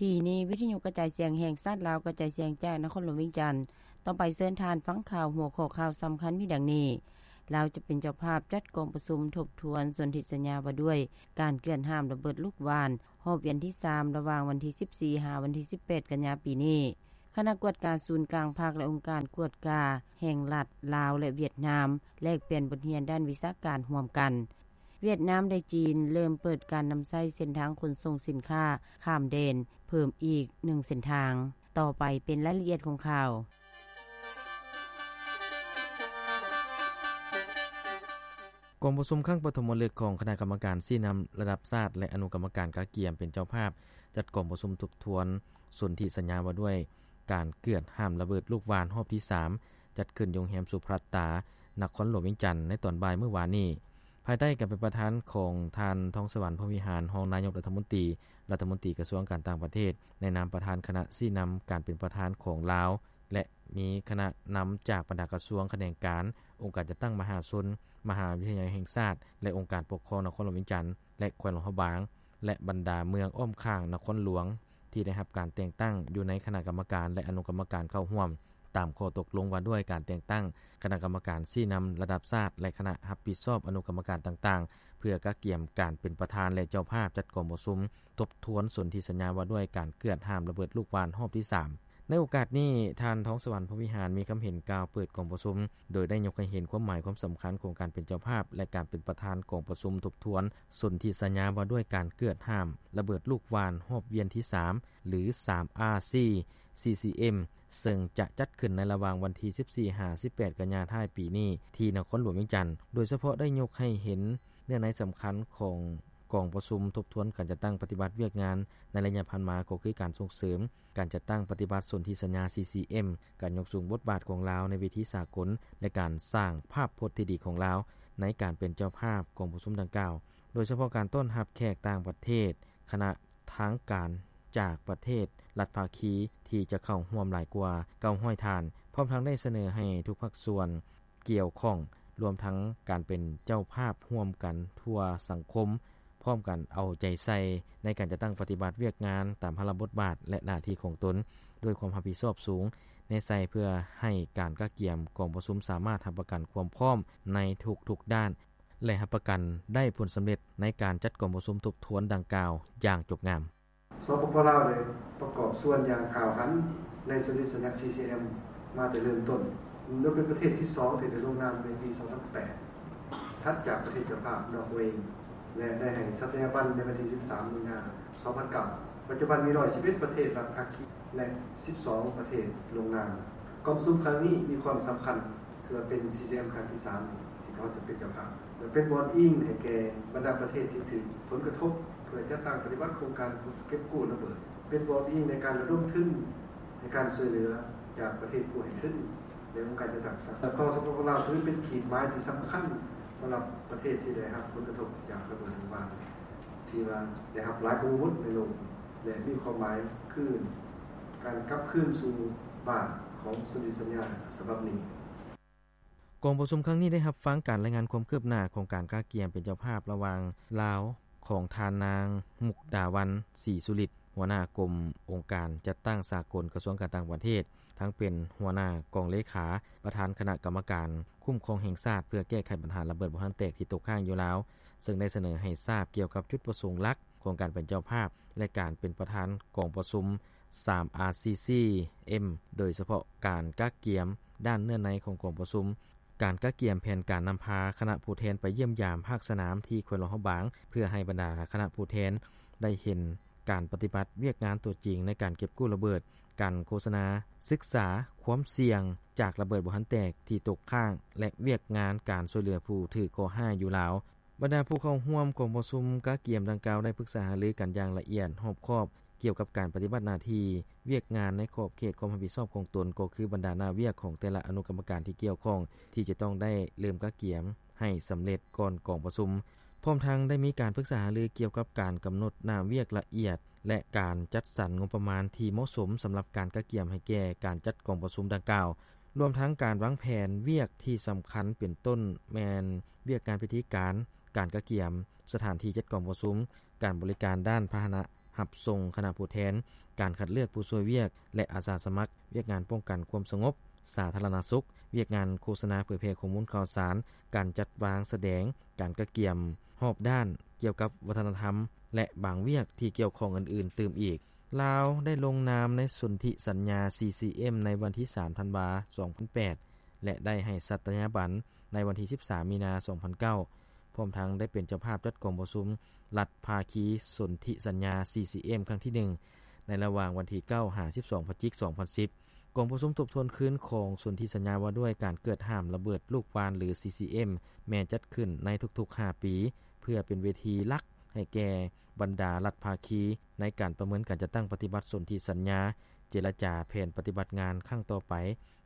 ທີ່ນີ້ ວິທະຍຸກະຈາຍສຽງແຫ່ງຊາດລາວ ກະຈາຍສຽງຈາກນະຄອນຫຼວງວຽງຈັນ. ຕໍ່ໄປເຊີນທ່ານຟັງຂ່າວ ຫົວຂໍ້ຂ່າວສຳຄັນມີດັ່ງນີ້: ລາວຈະເປັນເຈົ້າພາບຈັດກອງປະຊຸມທົບທວນສົນທິສັນຍາວ່າດ້ວຍການເກືອດຫ້າມລະເບີດລູກຫວ່ານ ຮອບວຽນທີສາມ ລະຫວ່າງວັນທີສິບສີ່ ຫາວັນທີສິບແປດ ກັນຍາປີນີ້. ຄະນະກວດກາສູນກາງພັກ ແລະ ອົງການກວດກາແຫ່ງລັດລາວ ແລະ ຫວຽດນາມ ແລກປ່ຽນບົດຮຽນດ້ານວິຊາການຮ່ວມກັນ. ຫວຽດນາມ ແລະ ຈີນ ເລີ່ມເປີດການນຳໃຊ້ເສັ້ນທາງຂົນສົ່ງສິນຄ້າຂ້າມແດນເພີ່ມອີກໜຶ່ງເສັ້ນທາງ. ຕໍ່ໄປເປັນລາຍລະອຽດຂອງຂ່າວ. ກອງປະຊຸມຄັ້ງປະຖົມມະລຶກຂອງຄະນະກຳມະການຊີ້ນຳລະດັບຊາດ ແລະ ອະນຸກຳມະການກະກຽມເປັນເຈົ້າພາບ ຈັດກອງປະຊຸມທົບທວນສົນທິສັນຍາວ່າດ້ວຍການເກືອດຫ້າມລະເບີດລູກຫວ່ານຮອບທີສາມ ຈັດຂຶ້ນຢູ່ໂຮງແຮມສຸພລັດຕາ ນະຄອນຫຼວງວຽງຈັນ ໃນຕອນບ່າຍມື້ວານນີ້ ພາຍໃຕ້ການເປັນປະທານຂອງທ່ານ ທອງສະຫວັນ ພົມວິຫານ ຮອງນາຍົກລັດຖະມົນຕີ, ລັດຖະມົນຕີກະຊວງການຕ່າງປະເທດ ໃນນາມປະທານຄະນະຊີ້ນຳການເປັນປະທານຂອງລາວ ແລະ ມີຄະນະນຳຈາກບັນດາກະຊວງ, ຂະແໜງການ, ອົງການຈັດຕັ້ງມະຫາຊົນ, ມະຫາວິທະຍາໄລແຫ່ງຊາດ ແລະ ອົງການປົກຄອງນະຄອນຫຼວງວຽງຈັນ ແລະ ແຂວງຫຼວງພະບາງ ແລະ ບັນດາເມືອງອ້ອມຂ້າງນະຄອນຫຼວງ ທີ່ໄດ້ຮັບການແຕ່ງຕັ້ງຢູ່ໃນຄະນະກຳມະການ ແລະ ອະນຸກຳມະການເຂົ້າຮ່ວມ ຕາມຂໍ້ຕົກລົງວ່າດ້ວຍການແຕ່ງຕັ້ງຄະນະກຳມະການຊີ້ນຳລະດັບຊາດ ແລະ ຄະນະຮັບຜິດຊອບອະນຸກຳມະການຕ່າງໆ ເພື່ອກະກຽມການເປັນປະທານ ແລະ ເຈົ້າພາບຈັດກອງປະຊຸມທົບທວນສົນທິສັນຍາວ່າດ້ວຍການເກືອດຫ້າມລະເບີດລູກຫວ່ານຮອບທີສາມ. ໃນໂອກາດນີ້, ທ່ານ ທອງສະຫວັນ ພົມວິຫານ ມີຄຳເຫັນກ່າວເປີດກອງປະຊຸມ ໂດຍໄດ້ຍົກໃຫ້ເຫັນຄວາມໝາຍຄວາມສຳຄັນຂອງການເປັນເຈົ້າພາບ ແລະ ການເປັນປະທານກອງປະຊຸມທົບທວນສົນທິສັນຍາວ່າດ້ວຍການເກືອດຫ້າມລະເບີດລູກຫວ່ານຮອບວຽນທີສາມ ຫຼື ສາມອາຊີ ຊີຊີເອັມ ເຊິ່ງຈະຈັດຂຶ້ນໃນລະຫວ່າງວັນທີສິບສີ່ ຫາ ສິບແປດ ກັນຍາທ້າຍປີນີ້ ທີ່ນະຄອນຫຼວງວຽງຈັນ, ໂດຍສະເພາະໄດ້ຍົກໃຫ້ເຫັນເນື້ອໃນສຳຄັນຂອງກອງປະຊຸມທົບທວນການຈັດຕັ້ງປະຕິບັດວຽກງານໃນໄລຍະຜ່ານມາ ກໍຄືການສົ່ງເສີມການຈັດຕັ້ງປະຕິບັດສົນທິສັນຍາ ຊີຊີເອັມ, ການຍົກສູງບົດບາດຂອງລາວໃນເວທີສາກົນ ແລະ ການສ້າງພາບພົດທີ່ດີຂອງລາວໃນການເປັນເຈົ້າພາບກອງປະຊຸມດັ່ງກ່າວ, ໂດຍສະເພາະການຕ້ອນຮັບແຂກຕ່າງປະເທດ, ຄະນະ ທາງການຈາກປະເທດລັດພາຄີທີ່ຈະເຂົ້າຮ່ວມຫຼາຍກວ່າເກົ້າຮ້ອຍທ່ານ, ພ້ອມທັງໄດ້ສະເໜີໃຫ້ທຸກພາກສ່ວນກ່ຽວຂ້ອງ, ລວມທັງການເປັນເຈົ້າພາບຮ່ວມກັນທົ່ວສັງຄົມ, ພ້ອມກັນເອົາໃຈໃສ່ໃນການຈັດຕັ້ງປະຕິບັດວຽກງານຕາມພາລະບົດບາດ ແລະ ໜ້າທີ່ຂອງຕົນ ດ້ວຍຄວາມຮັບຜິດຊອບສູງແນໃສ່ ເພື່ອໃຫ້ການກະກຽມກອງປະຊຸມສາມາດຮັບປະກັນຄວາມພ້ອມໃນທຸກໆດ້ານ ແລະ ຮັບປະກັນໄດ້ຜົນສຳເລັດໃນການຈັດກອງປະຊຸມທົບທວນດັ່ງກ່າວຢ່າງຈົບງາມ. ສປປ ລາວ ໄດ້ປະກອບສ່ວນຢ່າງກ້າວຫັນໃນສົນທິສັນຍາ ຊີຊີເອັມ ມາແຕ່ເລີ່ມຕົ້ນ, ໂດຍເປັນປະເທດທີສອງທີ່ໄດ້ລົງນາມໃນປີສອງພັນແປດ ຖັດຈາກປະເທດເຈົ້າພາບນອກເວ ແລະ ໄດ້ໃຫ້ສັດຍາບັນໃນວັນທີສິບສາມ ມີນາ ສອງພັນເກົ້າ. ປັດຈຸບັນມີຮ້ອຍສິບເອັດປະເທດລັດພາຄີ ແລະ ສິບສອງປະເທດລົງນາມ. ກອງປະຊຸມຄັ້ງນີ້ມີຄວາມສຳຄັນ ຖືວ່າເປັນ ຊີຊີເອັມ ຄັ້ງທີສາມ ທີ່ພວກເຮົາຈະເປັນເຈົ້າພາບ ແລະ ເປັນບ່ອນອີງໃຫ້ແກ່ບັນດາປະເທດທີ່ຖືກຜົນກະທົບ ເພື່ອຈັດຕັ້ງປະຕິບັດໂຄງການເກັບກູ້ລະເບີດ, ເປັນບ່ອນອີງໃນການລະດົມທຶນໃຫ້ການຊ່ວຍເຫຼືອຈາກປະເທດຜູ້ໃຫ້ທຶນ ແລະ ອົງການຈັດຕັ້ງສາກົນ. ກອງ ສປປ ລາວ ຖືເປັນຂີດໝາຍທີ່ສຳຄັນສຳລັບປະເທດທີ່ໄດ້ຮັບຜົນກະທົບຈາກລະເບີດວຽງຈັນ ທີ່ວ່າໄດ້ຮັບຫຼາຍກວ່າໝູ່ໃນໂລກ ແລະ ມີຄວາມໝາຍຄືການກັບຄືນສູ່ບ້ານຂອງສົນທິສັນຍາສະບັບນີ້. ກອງປະຊຸມຄັ້ງນີ້ໄດ້ຮັບຟັງການລາຍງານຄວາມຄືບໜ້າຂອງການກະກຽມເປັນເຈົ້າພາບລະຫວ່າງລາວ ຂອງທ່ານນາງ ມຸກດາວັນ ສີສຸລິດ ຫົວໜ້າກົມອົງການຈັດຕັ້ງສາກົນ ກະຊວງການຕ່າງປະເທດ, ທັງເປັນຫົວໜ້າກອງເລຂາ, ປະທານຄະນະກຳມະການຄຸ້ມຄອງແຫ່ງຊາດ ເພື່ອແກ້ໄຂບັນຫາລະເບີດບໍ່ທັນແຕກທີ່ຕົກຄ້າງຢູ່ລາວ, ເຊິ່ງໄດ້ສະເໜີໃຫ້ຊາບກ່ຽວກັບຈຸດປະສົງຫຼັກຂອງການເປັນເຈົ້າພາບ ແລະ ການເປັນປະທານກອງປະຊຸມ ສາມ ອາ ຊີ ຊີ ເອັມ ໂດຍສະເພາະການກະກຽມດ້ານເນື້ອໃນຂອງກອງປະຊຸມ, ການກະກຽມແຜນການນຳພາຄະນະຜູ້ແທນໄປຢ້ຽມຢາມພາກສະໜາມທີ່ແຂວງຫຼວງພະບາງ ເພື່ອໃຫ້ບັນດາຄະນະຜູ້ແທນໄດ້ເຫັນການປະຕິບັດວຽກງານຕົວຈິງໃນການເກັບກູ້ລະເບີດ, ການໂຄສະນາສຶກສາຄວາມສ່ຽງຈາກລະເບີດບໍ່ທັນແຕກທີ່ຕົກຄ້າງ ແລະ ວຽກງານການຊ່ວຍເຫຼືອຜູ້ຖືກເຄາະຮ້າຍຢູ່ລາວ. ບັນດາຜູ້ເຂົ້າຮ່ວມກອງປະຊຸມກະກຽມດັ່ງກ່າວໄດ້ປຶກສາຫາລືກັນຢ່າງລະອຽດຮອບຄອບ ກ່ຽວກັບການປະຕິບັດໜ້າທີ່ວຽກງານໃນຂອບເຂດຄວາມຮັບຜິດຊອບຂອງຕົນ, ກໍຄືບັນດາໜ້າວຽກຂອງແຕ່ລະອະນຸກຳມະການທີ່ກ່ຽວຂ້ອງ ທີ່ຈະຕ້ອງໄດ້ເລີ່ມກະກຽມໃຫ້ສຳເລັດກ່ອນກອງປະຊຸມ, ພ້ອມທັງໄດ້ມີການປຶກສາຫາລືກ່ຽວກັບການກຳນົດໜ້າວຽກລະອຽດ ແລະ ການຈັດສັນງົບປະມານທີ່ເໝາະສົມສຳລັບການກະກຽມໃຫ້ແກ່ການຈັດກອງປະຊຸມດັ່ງກ່າວ. ລວມທັງການວາງແຜນວຽກທີ່ສຳຄັນເປັນຕົ້ນແມ່ນວຽກງານພິທີການ, ການກະກຽມ, ສະຖານທີ່ຈັດກອງປະຊຸມ, ການບໍລິການດ້ານພາຫະນະ ຮັບສົ່ງຄະນະຜູ້ແທນ, ການຄັດເລືອກຜູ້ຊ່ວຍວຽກ ແລະ ອາສາສະໝັກ, ວຽກງານປ້ອງກັນຄວາມສະຫງົບ, ສາທາລະນະສຸກ, ວຽກງານໂຄສະນາເຜີຍແຜ່ຂໍ້ມູນຂ່າວສານ, ການຈັດວາງສະແດງ, ການກະກຽມຮອບດ້ານກ່ຽວກັບວັດທະນະທຳ ແລະ ບາງວຽກທີ່ກ່ຽວຂ້ອງອື່ນໆຕື່ມອີກ. ລາວໄດ້ລົງນາມໃນສົນທິສັນຍາ ຊີຊີເອັມ ໃນວັນທີສາມ ທັນວາ ສອງພັນແປດ ແລະ ໄດ້ໃຫ້ສັດຕະຍາບັນໃນວັນທີສິບສາມ ມີນາ ສອງພັນເກົ້າ ພ້ອມທັງໄດ້ເປັນເຈົ້າພາບຈັດກອງປະຊຸມລັດພາຄີສົນທິສັນຍາ ຊີຊີເອັມ ຄັ້ງທີໜຶ່ງ ໃນລະຫວ່າງວັນທີເກົ້າ ຫາ ສິບສອງ ພະຈິກ ສອງພັນສິບ. ກອງປະຊຸມທົບທວນຄືນຂອງສົນທິສັນຍາວ່າດ້ວຍການເກີດຫ້າມລະເບີດລູກຫວ່ານ ຫຼື ຊີຊີເອັມ ແມ່ນຈັດຂຶ້ນໃນທຸກໆຫ້າປີ ເພື່ອເປັນເວທີຫຼັກໃຫ້ແກ່ບັນດາລັດພາຄີໃນການປະເມີນການຈັດຕັ້ງປະຕິບັດສົນທິສັນຍາ, ເຈລະຈາແຜນປະຕິບັດງານຄັ້ງຕໍ່ໄປ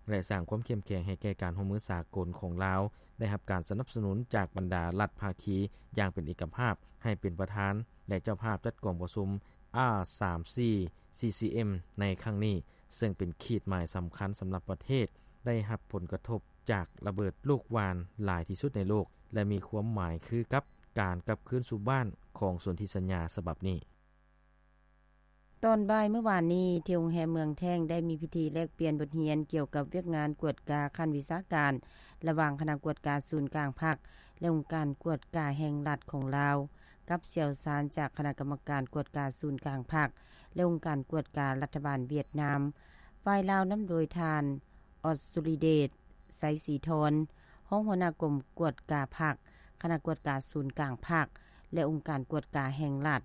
ແລະ ສ້າງຄວາມເຂັ້ມແຂງໃຫ້ແກ່ການຮ່ວມມືສາກົນຂອງລາວ ໄດ້ຮັບການສະໜັບສະໜູນຈາກບັນດາລັດພາຄີຢ່າງເປັນເອກະພາບ ໃຫ້ເປັນປະທານ ແລະ ເຈົ້າພາບຈັດກອງປະຊຸມ ອາ ສາມສີ່ ຊີຊີເອັມ ໃນຄັ້ງນີ້, ເຊິ່ງເປັນຂີດໝາຍສຳຄັນສຳລັບປະເທດໄດ້ຮັບຜົນກະທົບຈາກລະເບີດລູກຫວ່ານຫຼາຍທີ່ສຸດໃນໂລກ ແລະ ມີຄວາມໝາຍຄືກັບການກັບຄືນສູ່ບ້ານຂອງສົນທິສັນຍາສະບັບນີ້. ຕອນບ່າຍມື້ວານນີ້ ທີ່ໂຮງແຮມເມືອງແທ້ງ ໄດ້ມີພິທີແລກປ່ຽນບົດຮຽນກ່ຽວກັບວຽກງານກວດກາຂັ້ນວິຊາການ ລະຫວ່າງຄະນະກວດກາສູນກາງພັກ ແລະ ອົງການກວດກາແຫ່ງລັດຂອງລາວ ກັບຊ່ຽວຊານຈາກຄະນະກຳມະການກວດກາສູນກາງພັກ ແລະ ອົງການກວດກາລັດຖະບານຫວຽດນາມ. ຝ່າຍລາວນຳໂດຍທ່ານ ອອດສຸລິເດດ ໄຊສີທອນ ຮອງຫົວໜ້າກົມກວດກາພັກ, ຄະນະກວດກາສູນກາງພັກ ແລະ ອົງການກວດກາແຫ່ງລັດ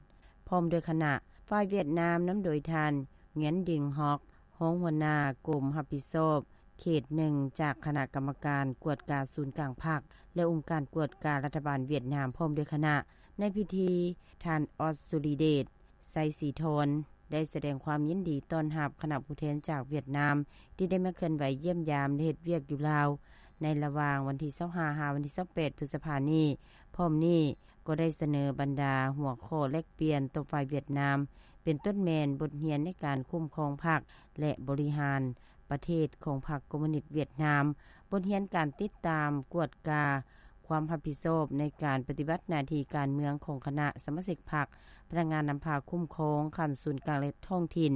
ພ້ອມດ້ວຍຄະນະ. ຝ່າຍຫວຽດນາມນຳໂດຍທ່ານ ງຽນ ດິງຮອກ ຮອງຫົວໜ້າກົມຮັບຜິດຊອບເຂດໜຶ່ງ ຈາກຄະນະກຳມະການກວດກາສູນກາງພັກ ແລະ ອົງການກວດກາລັດຖະບານຫວຽດນາມ ພ້ອມດ້ວຍຄະນະ. ໃນພິທີ ທ່ານ ອອດສຸລິເດດ ໄຊສີທອນ ໄດ້ສະແດງຄວາມຍິນດີຕ້ອນຮັບຄະນະຜູ້ແທນຈາກຫວຽດນາມ ທີ່ໄດ້ມາເຄື່ອນໄຫວຢ້ຽມຢາມ ແລະ ເຮັດວຽກຢູ່ລາວ ໃນລະຫວ່າງວັນທີຊາວຫ້າ ຫາ ວັນທີຊາວແປດ ພຶດສະພານີ້. ພ້ອມນີ້ກໍໄດ້ສະເໜີບັນດາຫົວຂໍ້ແລກປ່ຽນຕໍ່ຝ່າຍຫວຽດນາມ ເປັນຕົ້ນແມ່ນບົດຮຽນໃນການຄຸ້ມຄອງພັກ ແລະ ບໍລິຫານປະເທດຂອງພັກຄອມມູນິດຫວຽດນາມ, ບົດຮຽນການຕິດຕາມ, ກວດກາ, ຄວາມຮັບຜິດຊອບໃນການປະຕິບັດໜ້າທີ່ການເມືອງຂອງຄະນະສະມາຊິກພັກ, ພະນັກງານນຳພາຄຸ້ມຄອງຂັ້ນສູນກາງ ແລະ ທ້ອງຖິ່ນ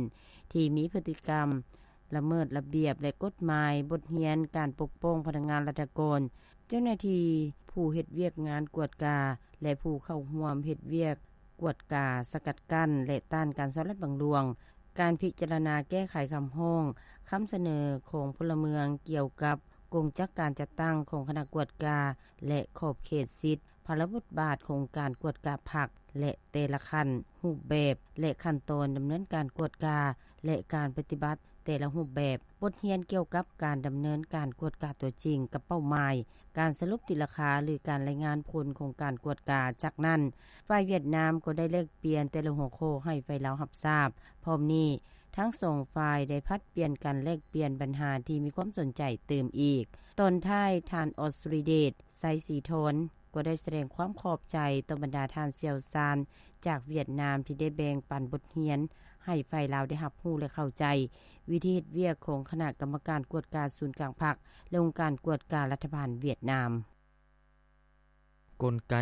ທີ່ມີພຶດຕິກຳລະເມີດລະບຽບ ແລະ ກົດໝາຍ, ບົດຮຽນການປົກປ້ອງພະນັກງານລັດຖະກອນ, ເຈົ້າໜ້າທີ່ຜູ້ເຮັດວຽກງານກວດກາ ແລະ ຜູ້ເຂົ້າຮ່ວມເຮັດວຽກກວດກາ, ສະກັດກັ້ນ ແລະ ຕ້ານການສໍ້ລາດບັງຫຼວງ, ການພິຈາລະນາແກ້ໄຂຄຳຮ້ອງ, ຄຳສະເໜີຂອງພົນລະເມືອງກ່ຽວກັບກົງຈັກການຈັດຕັ້ງຂອງຄະນະກວດກາ ແລະ ຂອບເຂດສິດ, ພາລະບົດບາດຂອງການກວດກາພັກ ແລະ ແຕ່ລະຂັ້ນ, ຮູບແບບ ແລະ ຂັ້ນຕອນດຳເນີນການກວດກາ ແລະ ການປະຕິບັດແຕ່ລະຮູບແບບ, ບົດຮຽນກ່ຽວກັບການດຳເນີນການກວດກາຕົວຈິງກັບເປົ້າໝາຍ, ການສະຫຼຸບຕີລາຄາ ຫຼື ການລາຍງານຜົນຂອງການກວດກາ. ຈາກນັ້ນ, ຝ່າຍຫວຽດນາມກໍໄດ້ແລກປ່ຽນແຕ່ລະຫົວຂໍ້ໃຫ້ຝ່າຍລາວຮັບຊາບ. ພ້ອມນີ້, ທັງສອງຝ່າຍໄດ້ຜັດປ່ຽນກັນແລກປ່ຽນບັນຫາທີ່ມີຄວາມສົນໃຈຕື່ມອີກ. ຕອນທ້າຍ, ທ່ານ ອອດສຸລິເດດ ໄຊສີທອນ ກໍໄດ້ສະແດງຄວາມຂອບໃຈຕໍ່ບັນດາທ່ານຊ່ຽວຊານຈາກຫວຽດນາມ ທີ່ໄດ້ແບ່ງປັນບົດຮຽນໃຫ້ຝ່າຍລາວໄດ້ຮັບຮູ້ ແລະ ເຂົ້າໃຈວິທີເຮັດວຽກຂອງຄະນະກຳມະການກວດກາສູນກາງພັກ ແລະ ອົງການກວດກາລັດຖະບານຫວຽດນາມ. ກົນໄກ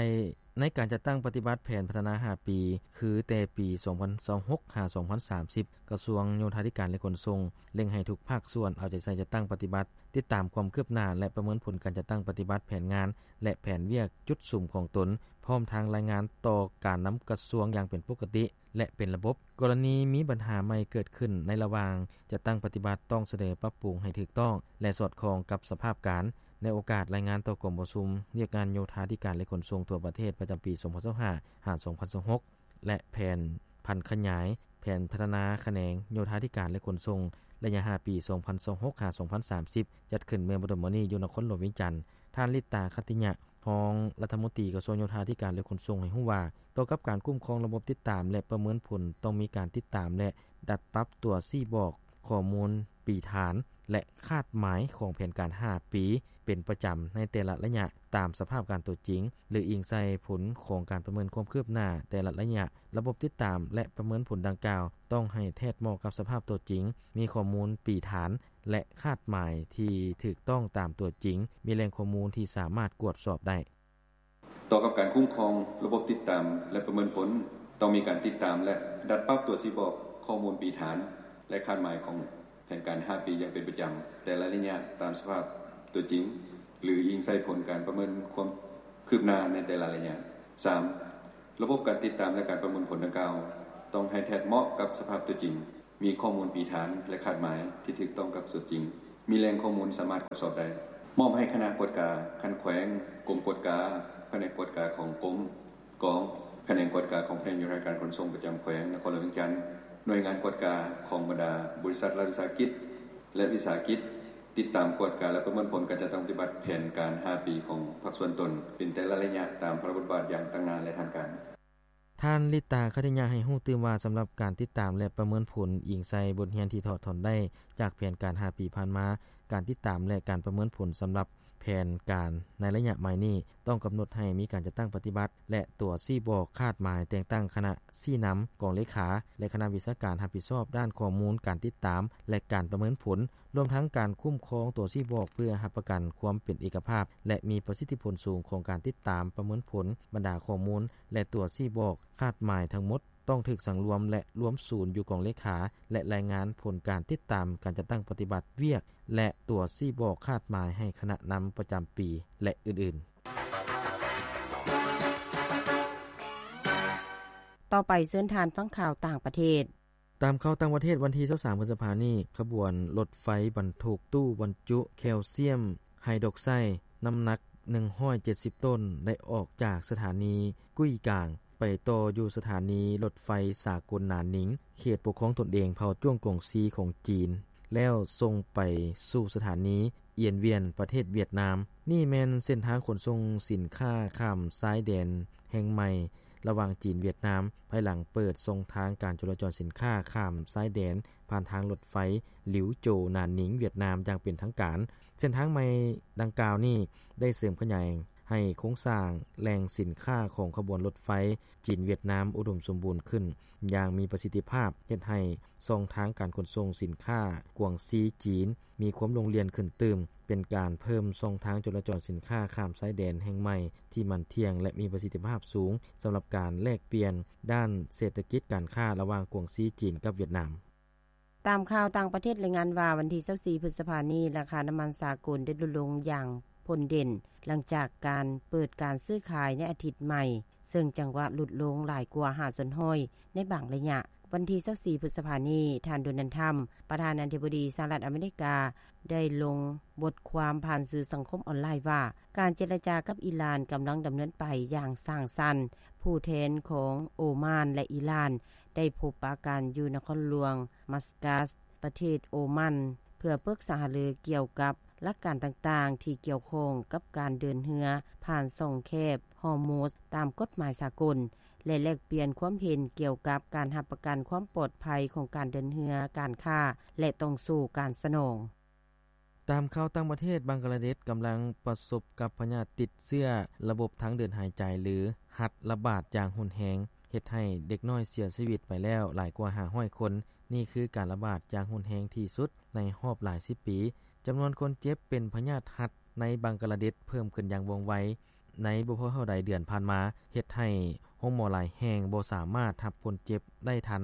ໃນການຈັດຕັ້ງປະຕິບັດແຜນພັດທະນາຫ້າປີ ຄືແຕ່ປີສອງພັນຊາວຫົກ ຫາ ສອງພັນສາມສິບ ກະຊວງໂຍທາທິການ ແລະ ຂົນສົ່ງ ເລັ່ງໃຫ້ທຸກພາກສ່ວນເອົາໃຈໃສ່ຈັດຕັ້ງປະຕິບັດ, ຕິດຕາມຄວາມຄືບໜ້າ ແລະ ປະເມີນຜົນການຈັດຕັ້ງປະຕິບັດແຜນງານ ແລະ ແຜນວຽກຈຸດສຸມຂອງຕົນ, ພ້ອມທັງລາຍງານຕໍ່ການນຳກະຊວງຢ່າງເປັນປົກກະຕິ ແລະ ເປັນລະບົບ. ກໍລະນີມີບັນຫາໃໝ່ເກີດຂຶ້ນໃນລະຫວ່າງຈັດຕັ້ງປະຕິບັດ ຕ້ອງສະເໜີປັບປຸງໃຫ້ຖືກຕ້ອງ ແລະ ສອດຄ່ອງກັບສະພາບການ. ໃນໂອກາດລາຍງານຕໍ່ກອງປະຊຸມວຽກງານໂຍທາທິການ ແລະ ຂົນສົ່ງທົ່ວປະເທດ ປະຈຳປີສອງພັນຊາວຫ້າ ຫາ ສອງພັນຊາວຫົກ ແລະ ແຜນຜັນຂະຫຍາຍແຜນພັດທະນາຂະແໜງໂຍທາທິການ ແລະ ຂົນສົ່ງ ໄລຍະຫ້າປີ ສອງພັນຊາວຫົກ ຫາ ສອງພັນສາມສິບ ຈັດຂຶ້ນເມື່ອບໍ່ດົນມານີ້ຢູ່ນະຄອນຫຼວງວຽງຈັນ, ທ່ານ ລິດຕາ ຂັດຕິຍະ ຮອງລັດຖະມົນຕີກະຊວງໂຍທາທິການ ແລະ ຂົນສົ່ງ ໃຫ້ຮູ້ວ່າ ຕໍ່ກັບການຄຸ້ມຄອງລະບົບຕິດຕາມ ແລະ ປະເມີນຜົນ ຕ້ອງມີການຕິດຕາມ ແລະ ດັດປັບຕົວຊີ້ບອກຂໍ້ມູນປີຖານ ແລະ ຄາດໝາຍຂອງແຜນການຫ້າປີເປັນປະຈຳໃນແຕ່ລະໄລຍະ ຕາມສະພາບການຕົວຈິງ ຫຼື ອີງໃສ່ຜົນຂອງການປະເມີນຄວາມຄືບໜ້າແຕ່ລະໄລຍະ. ລະບົບຕິດຕາມ ແລະ ປະເມີນຜົນດັ່ງກ່າວ ຕ້ອງໃຫ້ແທດເໝາະກັບສະພາບຕົວຈິງ, ມີຂໍ້ມູນປີຖານ ແລະ ຄາດໝາຍທີ່ຖືກຕ້ອງຕາມຕົວຈິງ, ມີແຫຼ່ງຂໍ້ມູນທີ່ສາມາດກວດສອບໄດ້. ຕໍ່ກັບການຄຸ້ມຄອງລະບົບຕິດຕາມ ແລະ ປະເມີນຜົນ ຕ້ອງມີການຕິດຕາມ ແລະ ດັດປັບຕົວຊີ້ບອກຂໍ້ມູນປີຖານ ແລະ ຄາດໝາຍຂອງແຜນການຫ້າປີຢ່າງເປັນປະຈຳ ແຕ່ລະໄລຍະຕາມສະພາບຕົວຈິງ ຫຼື ອີງໃສ່ຜົນການປະເມີນຄວາມຄືບໜ້າໃນແຕ່ລະໄລຍະ. ສາມ, ລະບົບການຕິດຕາມ ແລະ ການປະເມີນຜົນດັ່ງກ່າວ ຕ້ອງໃຫ້ແທດເໝາະກັບສະພາບຕົວຈິງ, ມີຂໍ້ມູນປີຖານ ແລະ ຄາດໝາຍທີ່ຖືກຕ້ອງກັບຕົວຈິງ, ມີແຫຼ່ງຂໍ້ມູນສາມາດກວດສອບໄດ້. ມອບໃຫ້ຄະນະກວດກາຂັ້ນແຂວງ, ກົມກວດກາ, ພະແນກກວດກາຂອງກົມ, ກອງ, ຂະແໜງກວດກາຂອງພະແນກໂຍທາການຂົນສົ່ງປະຈຳແຂວງນະຄອນຫຼວງວຽງຈັນ, ໜ່ວຍງານກວດກາຂອງບັນດາບໍລິສັດລັດວິສາຫະກິດ ແລະ ວິສາຫະກິດ ຕິດຕາມກວດກາ ແລະ ປະເມີນຜົນການຈັດຕັ້ງປະຕິບັດແຜນການຫ້າປີຂອງພາກສ່ວນຕົນ ເປັນແຕ່ລະໄລຍະຕາມພາລະບົດບາດຢ່າງຕັ້ງໜ້າ ແລະ ທາງການ. ທ່ານ ລິດຕາ ຄະຕິຍະ ໃຫ້ຮູ້ຕື່ມວ່າ ສຳລັບການຕິດຕາມ ແລະ ປະເມີນຜົນ ອີງໃສ່ບົດຮຽນທີ່ຖອດຖອນໄດ້ຈາກແຜນການຫ້າປີຜ່ານມາ, ການຕິດຕາມ ແລະ ການປະເມີນຜົນສຳລັບ ແຜນການໃນໄລຍະໃໝ່ນີ້ ຕ້ອງກຳນົດໃຫ້ມີການຈັດຕັ້ງປະຕິບັດ ແລະ ຕົວຊີ້ບອກຄາດໝາຍແຕ່ງຕັ້ງຄະນະຊີ້ນຳ, ກອງເລຂາ ແລະ ຄະນະວິຊາການຮັບຜິດຊອບດ້ານຂໍ້ມູນການຕິດຕາມ ແລະ ການປະເມີນຜົນ, ລວມທັງການຄຸ້ມຄອງຕົວຊີ້ບອກ ເພື່ອຮັບປະກັນຄວາມເປັນເອກະພາບ ແລະ ມີປະສິດທິຜົນສູງຂອງການຕິດຕາມປະເມີນຜົນ. ບັນດາຂໍ້ມູນ ແລະ ຕົວຊີ້ບອກຄາດໝາຍທັງໝົດ ຕ້ອງຖືກສັງລວມ ແລະ ລວມສູນຢູ່ກອງເລຂາ ແລະ ລາຍງານຜົນການຕິດຕາມການຈັດຕັ້ງປະຕິບັດວຽກ ແລະ ຕົວຊີ້ບອກຄາດໝາຍໃຫ້ຄະນະນຳປະຈຳປີ ແລະ ອື່ນໆ. ຕໍ່ໄປເຊີນທ່ານຟັງຂ່າວຕ່າງປະເທດ. ຕາມຂ່າວຕ່າງປະເທດ, ວັນທີຊາວສາມ ພຶດສະພານີ້, ຂະບວນລົດໄຟບັນທຸກຕູ້ບັນຈຸແຄວຊຽມໄຮດຣອກໄຊ ນ້ຳໜັກໜຶ່ງຮ້ອຍເຈັດສິບໂຕນ ໄດ້ອອກຈາກສະຖານີກຸ້ຍກາງ ໄປຕໍ່ຢູ່ສະຖານີລົດໄຟສາກົນໜານນິງ ເຂດປົກຄອງຕົນເອງເຜົ່າຈວງກົງຊີຂອງຈີນ ແລ້ວສົ່ງໄປສູ່ສະຖານີອຽນວຽນ ປະເທດຫວຽດນາມ. ນີ້ແມ່ນເສັ້ນທາງຂົນສົ່ງສິນຄ້າຂ້າມຊາຍແດນແຫ່ງໃໝ່ ລະຫວ່າງຈີນຫວຽດນາມ ພາຍຫຼັງເປີດຊ່ອງທາງການຈໍລະຈອນສິນຄ້າຂ້າມຊາຍແດນ ຜ່ານທາງລົດໄຟ ຫຼິວໂຈ ໜານນິງ ຫວຽດນາມ ຢ່າງເປັນທາງການ. ເສັ້ນທາງໃໝ່ດັ່ງກ່າວນີ້ ໄດ້ເສີມຂະຫຍາຍໃຫ້ໂຄງສ້າງແຫຼ່ງສິນຄ້າຂອງຂະບວນລົດໄຟຈີນຫວຽດນາມ ອຸດົມສົມບູນຂຶ້ນຢ່າງມີປະສິດທິພາບ, ເຮັດໃຫ້ຊ່ອງທາງການຂົນສົ່ງສິນຄ້າກວາງຊີ-ຈີນ ມີຄວາມໂລ່ງລ່ຽນຂຶ້ນຕື່ມ, ເປັນການເພີ່ມຊ່ອງທາງຈໍລະຈອນສິນຄ້າຂ້າມຊາຍແດນແຫ່ງໃໝ່ທີ່ໝັ້ນທ່ຽງ ແລະ ມີປະສິດທິພາບສູງ ສຳລັບການແລກປ່ຽນດ້ານເສດຖະກິດການຄ້າລະຫວ່າງກວາງຊີ-ຈີນ ກັບຫວຽດນາມ. ຕາມຂ່າວຕ່າງປະເທດລາຍງານວ່າ ວັນທີຊາວສີ່ ພຶດສະພານີ້ ລາຄານ້ຳມັນສາກົນໄດ້ຫຼຸດລົງຢ່າງພົ້ນເດັ່ນ ຫຼັງຈາກການເປີດການຊື້ຂາຍໃນອາທິດໃໝ່ ເຊິ່ງຈັງຫວະຫຼຸດລົງຫຼາຍກວ່າຫ້າສ່ວນຮ້ອຍໃນບາງໄລຍະ. ວັນທີຊາວສີ່ ພຶດສະພານີ້, ທ່ານ ໂດນັລ ທຣຳ ປະທານາທິບໍດີສະຫະລັດອາເມລິກາ ໄດ້ລົງບົດຄວາມຜ່ານສື່ສັງຄົມອອນລາຍວ່າ ການເຈລະຈາກັບອີຣານກຳລັງດຳເນີນໄປຢ່າງສ້າງສັນ. ຜູ້ແທນຂອງໂອມານ ແລະ ອີຣານ ໄດ້ພົບປະກັນຢູ່ນະຄອນຫຼວງມັສກັສ ປະເທດໂອມານ ເພື່ອປຶກສາຫາລືກ່ຽວກັບຫຼັກການຕ່າງໆທີ່ກ່ຽວຂ້ອງກັບການເດີນເຮືອຜ່ານຊ່ອງແຄບຮໍມຸດຕາມກົດໝາຍສາກົນ ແລະ ແລກປ່ຽນຄວາມເຫັນກ່ຽວກັບການຮັບປະກັນຄວາມປອດໄພຂອງການເດີນເຮືອ, ການຄ້າ ແລະ ຕ່ອງສູ້ການສະໜອງ. ຕາມຂ່າວຕ່າງປະເທດ, ບັງກາລາເດດກຳລັງປະສົບກັບພະຍາດຕິດເຊື້ອລະບົບທາງເດີນຫາຍໃຈ ຫຼື ຮັດລະບາດຢ່າງຮຸນແຮງ, ເຮັດໃຫ້ເດັກນ້ອຍເສຍຊີວິດໄປແລ້ວຫຼາຍກວ່າຫ້າຮ້ອຍຄົນ. ນີ້ຄືການລະບາດຢ່າງຮຸນແຮງທີ່ສຸດໃນຮອບຫຼາຍສິບປີ. ຈຳນວນຄົນເຈັບເປັນພະຍາດຮັດໃນບັງກາລາເດດເພີ່ມຂຶ້ນຢ່າງວ່ອງໄວໃນບໍ່ພໍເທົ່າໃດເດືອນຜ່ານມາ, ເຮັດໃຫ້ໂຮງໝໍຫຼາຍແຫ່ງບໍ່ສາມາດຮັບຄົນເຈັບໄດ້ທັນ,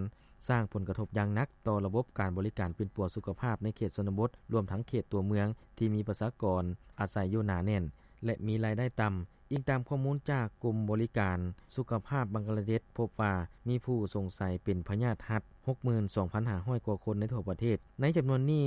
ສ້າງຜົນກະທົບຢ່າງໜັກຕໍ່ລະບົບການບໍລິການປິ່ນປົວສຸຂະພາບໃນເຂດຊົນນະບົດ, ລວມທັງເຂດຕົວເມືອງທີ່ມີປະຊາກອນອາໄສຢູ່ໜາແໜ້ນ ແລະ ມີລາຍໄດ້ຕ່ຳ. ອີງຕາມຂໍ້ມູນຈາກກົມບໍລິການສຸຂະພາບບັງກາລາເດດ ພົບວ່າມີຜູ້ສົງໄສເປັນພະຍາດຮັດ ຫົກໝື່ນສອງພັນຫ້າຮ້ອຍກວ່າຄົນໃນທົ່ວປະເທດ. ໃນຈຳນວນນີ້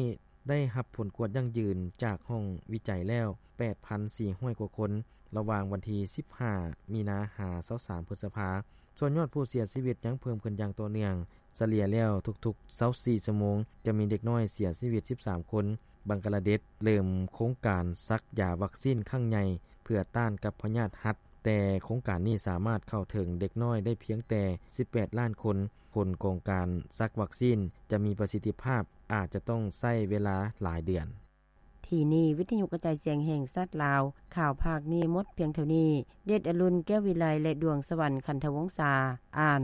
ໄດ້ຮັບຜົນກວດຢັ້ງຢືນຈາກຫ້ອງວິໄຈແລ້ວ ແປດພັນສີ່ຮ້ອຍກວ່າຄົນ ລະຫວ່າງວັນທີສິບຫ້າ ມີນາ ຫາ ຊາວສາມ ພຶດສະພາ. ສ່ວນຍອດຜູ້ເສຍຊີວິດຍັງເພີ່ມຂຶ້ນຢ່າງຕໍ່ເນື່ອງ, ສະເລ່ຍແລ້ວທຸກໆຊາວສີ່ຊົ່ວໂມງຈະມີເດັກນ້ອຍເສຍຊີວິດສິບສາມຄົນ. ບັງກາລາເດດເລີ່ມໂຄງການສັກຢາວັກຊີນຄັ້ງໃຫຍ່ເພື່ອຕ້ານກັບພະຍາດຮັດ, ແຕ່ໂຄງການນີ້ສາມາດເຂົ້າເຖິງເດັກນ້ອຍໄດ້ພຽງແຕ່ສິບແປດລ້ານຄົນ. ຜົນຂອງການສັກວັກຊີນຈະມີປະສິດທິພາບ ອາດຈະຕ້ອງໃຊ້ເວລາຫຼາຍເດືອນ. ທີ່ນີ້ ວິທະຍຸກະຈາຍສຽງແຫ່ງຊາດລາວ, ຂ່າວພາກນີ້ໝົດພຽງເທົ່ານີ້. ເດດອະລຸນ ແກ້ວວິໄລ ແລະ ດວງສະຫວັນ ຂັນທະວົງສາ ອ່ານ.